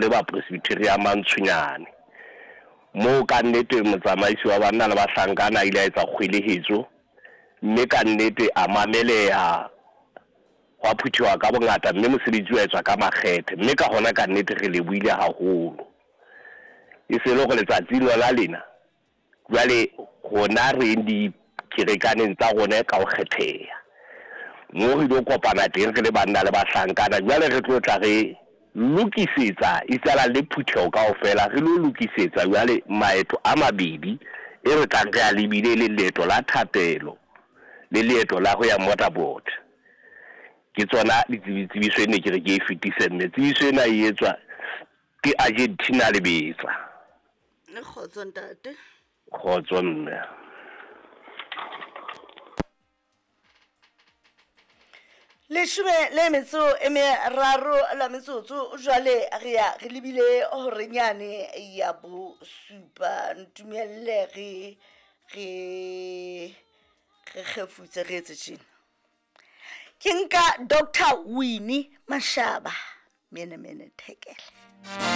le ba Presbytery ya Mantsonyane. Moo ka nnete motsamaisi wa banna le bahlankana a ile a etsa kgwelehetso mme ka nnete a mameleha, hwa phuthewa ka bongata mme mosebetsi wa etswa ka makgethe mme ka hona ka nnete re lebohile haholo. E se le hore letsatsing lona lena Jwale rona re yeng dikerekaneng tsa rona ka ho kgetheha, moo re ilo kopana teng re le banna le bahlankana. Jwale re tlo tla re lokisetsa, isala le phutheho kaofela, re lo lokisetsa jwale maeto a mabedi e re tlang re a lebile, e leng leeto la thapelo le leeto la ho ya Modderpoort. Ke tsona ditsebiso e ne ke re ke e fetise, mme tsebiso ena e etswa ke Argentina Lebetsa. Kgotso ntate. Kgotso mme. Leshome le metso e meraro la metsotso jwale re ya re lebile horenyane ya bosupa. Ntumelle re re re kgefutse re etse tjena. Ke nka Doctor Winnie Mashaba mene mene thekele.